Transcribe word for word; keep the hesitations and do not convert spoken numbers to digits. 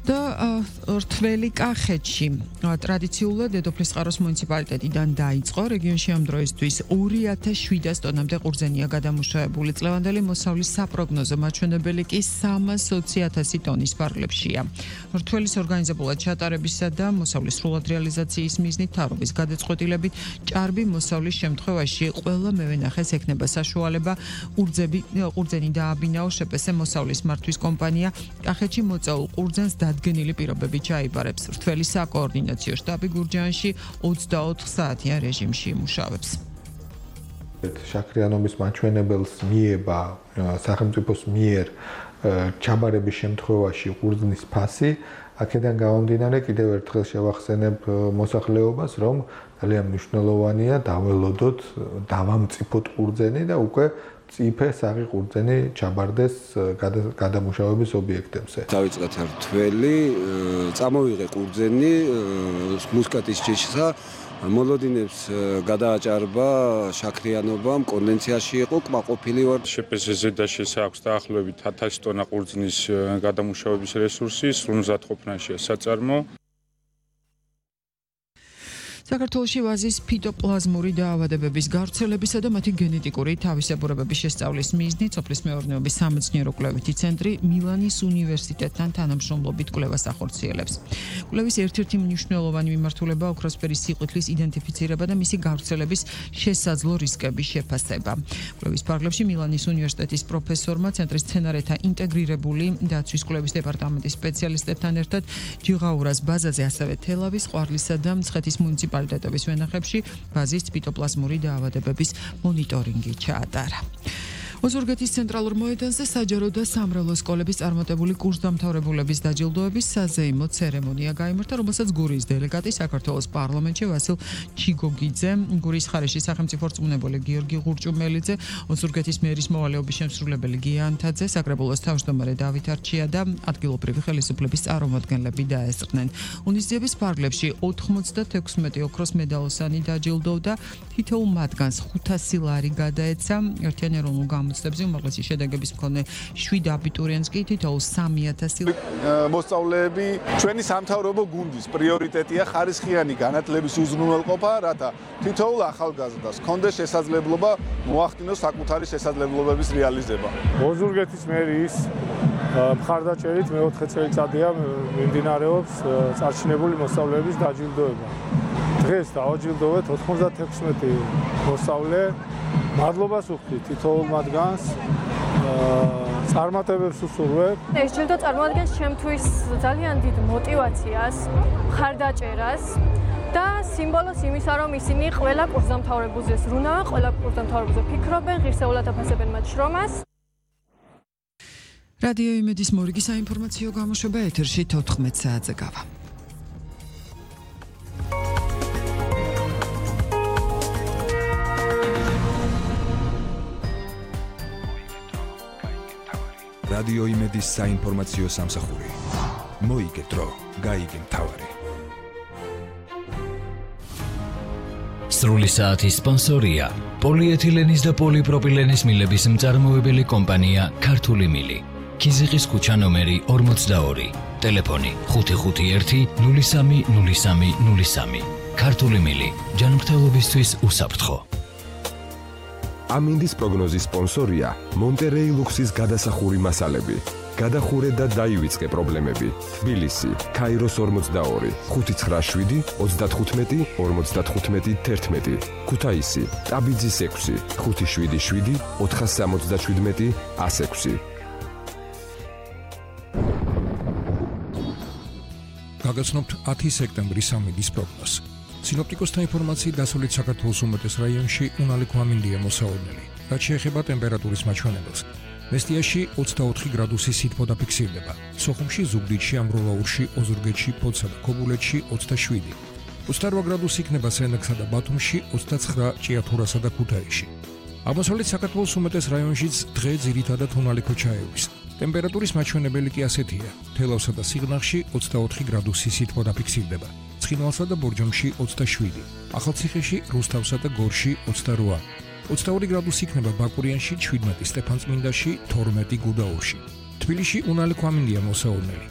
და რთველი კახეთში ტრადიციულად დედოფლის წყაროს მუნიციპალიტეტიდან დაიწყო რეგიონში ამ დროისთვის ორი ათას შვიდას ტონამდე ყურძენია გადამუშავებული. წლევანდელი მოსავლის საპროგნოზო მაჩვენებელი კი სამას ოცი ათასი ტონის ფარგლებშია. რთველის ორგანიზებულად ჩატარებისა და მოსავლის სრულად რეალიზაციის მიზნით მთავრობის გადაწყვეტილებით ჭარბი მოსავლის შემთხვევაში ყველა მევენახეს ექნება საშუალება ყურძენი დააბინაო შეპესე მოსავლის მართვის კომპანია კახეთში მოწაულ ყურძენს დადგენილი პირობები ჩაიბარებს. რთველის საკოორდინაციო შტაბი გურჯაანში ოცდაოთხ საათიან რეჟიმში იმუშავებს. შაქრიანობის მაჩვენებელს მიება სახელმწიფოს მიერ ჩაბარების შემთხვევაში ყურძნის ფასი. აქედან გამომდინარე კიდევ ერთხელ შევახსენებ მოსახლეობას, რომ ძალიან მნიშვნელოვანია დაველოდოთ, დავამწიფოთ ყურძენი და უკვე წიფე საღი ყურძენი ჩაბარდეს გადამუშავების ობიექტებზე. დავიწყეთ რთველი, წამოვიღე ყურძენი მუსკატის ჯიშსა, მოლოდინებს გადააჭარბა შაქრიანობამ, კონდენციაში იყო, კმაყოფილი ვარ. შეპესეზე და შესაქვს დაახლოებით ათასი ტონა ყურძნის გადამუშავების რესურსი, სრულმზადყოფნაშია საწარმო. საქართველოში ვაზის ფიტოპლაზმური დაავადებების გავრცელებისა და მათი გენეტიკური თავისებურებების შესწავლის მიზნით სოფლის მეურნეობის სამეცნიერო კვლევითი ცენტრი მილანის უნივერსიტეტთან თანამშრომლობით კვლევას ახორციელებს. კვლევის ერთ-ერთი მნიშვნელოვანი მიმართულება ოქროსფერი სიყვითლის იდენტიფიცირება და მისი გავრცელების შესაძლო რისკების შეფასება. კვლევის ფარგლებში მილანის უნივერსიტეტის პროფესორმა ცენტრის სცენარეთა ინტეგრირებული დაცვის კვლევის დეპარტამენტის სპეციალისტებთან ერთად ჯიღაურას ბაზაზე, ასევე თელავის, ყვარლისა და მცხეთის მუნიციპალიტეტების ვენახებში ვაზის ფიტოპლაზმური დაავადებების მონიტორინგი ჩაატარა. ოზურგეთის ცენტრალურ მოედანზე საჯარო და სამრევლო სკოლების წარმატებული კურსდამთავრებულების დაჯილდოების საზეიმო ცერემონია გაიმართა, რომელსაც გურიის დელეგატი საქართველოს პარლამენტში ვასილ ჩიგოგიძე, გურიის ხარეში სახელმწიფო რწმუნებული გიორგი ღურჭუმელიძე, ოზურგეთის მერის მოვალეობის შემსრულებელი გია ანთაძე, საკრებულოს თავმჯდომარე დავით არჩია და ადგილობრივი ხელისუფლების წარმომადგენლები დაესწრნენ. უნიზიების ფარგლებში ოთხმოცდათექვსმეტი ოქროს მედალოსანი დაჯილდოვდა, თითოეულ მათგანს ხუთასი ლარი გადაეცა. ერთიანი ეროვნულ გამოცდებზე უმაღლესი შედეგების მქონე შვიდ აბიტურიენტს კი თითოეულ სამი ათასი მოსწავლეები ჩვენი სამთავრობო გუნდის პრიორიტეტია ხარისხიანი განათლების უზრუნველყოფა, რათა თითოეულ ახალგაზრდას ჰქონდეს შესაძლებლობა მოახდინოს საკუთარი შესაძლებლობების რეალიზება. ოზურგეთის მერის მხარდაჭერით მეოთხე წელიწადია მიმდინარეობს წარჩინებული მოსწავლეების დაჯილდოება. დღეს დავაჯილდოვეთ ოთხმოცდათექვსმეტი მოსწავლე. მადლობას ვუხდით თითოეულ მათგანს, წარმატებებს ვუსურვებ. ეს ჯილდო წარმოადგენს ჩემთვის ძალიან დიდ მოტივაციას, მხარდაჭერას და სიმბოლოს იმისა, რომ ისინი ყველა კურსდამთავრებულზე ზრუნავენ, ყველა კურსდამთავრებულზე ფიქრობენ, ღირსეულად აფასებენ მათ შრომას. რადიო იმედის მორიგი საინფორმაციო გამოშვება ეთერში თოთხმეტ საათზე გავა. რადიო იმედის საინფორმაციო სამსახური. მოიგე დრო, გაიგე მთავარი. სრული საათის სპონსორია პოლიეთილენის და პოლიპროპილენის მილების მწარმოებელი კომპანია ქართული მილი. ქიზიყის ქუჩა ნომერი ორმოცდაორი. ტელეფონი ხუთი ხუთი ერთი ნული სამი ნული სამი ნული სამი. ქართული მილი. ჯანმრთელობისთვის უსაფრთხო. ამინდის პროგნოზის სპონსორია მონტერეი ლუქსის გადასახური მასალები. გადახურე და დაივიწყე პრობლემები. თბილისი, ქაიროს ორმოცდაორი, ხუთი ცხრა შვიდი ოცდათხუთმეტი ორმოცდათხუთმეტი თერთმეტი. ქუთაისი, ტაბიძის ექვსი, ხუთი შვიდი შვიდი ოთხასამოცდაშვიდმეტი ასექვსი. გაგაცნობთ ათი სექტემბრის ამინდის პროგნოზს. სინოპტიკოსთა ინფორმაციით დასავლეთ საქართველოს უმეტეს რაიონში უნალე გვამინდია მოსაოდნელი. რაც შეეხება ტემპერატურის მაჩვენებელს, მესტიაში ოცდაოთხი გრადუსი სითბო დაფიქსირდება. სოხუმში, ზუგდიდში, ამბროლაურში, ოზურგეთში, ფოთსა და ქობულეთში ოცდაშვიდი. ოცდარვა გრადუსი იქნება სენაკსა და ბათუმში, ოცდაცხრა ჭიათურასა და ქუთაისში. აღმოსავლეთ საქართველოს უმეტეს რაიონშიც დღე ძირითადად უნალე ქოჩაევის. ტემპერატურის მაჩვენებელი კი ასეთია: თელავსა და სიღნაღში ოცდაოთხი გრადუსი სითბო დაფიქსირდება. ცხინვალსა და ბორჯომში ოცდაშვიდი, ახალციხეში, რუსთავსა და გორში ოცდარვა. ოცდაორი გრადუსი იქნება ბაკურიანში, შვიდმეტი სტეფანწმინდაში, თორმეტი გუდაურში. თბილისში უნალე ქვამინდია მოსაოდნელი.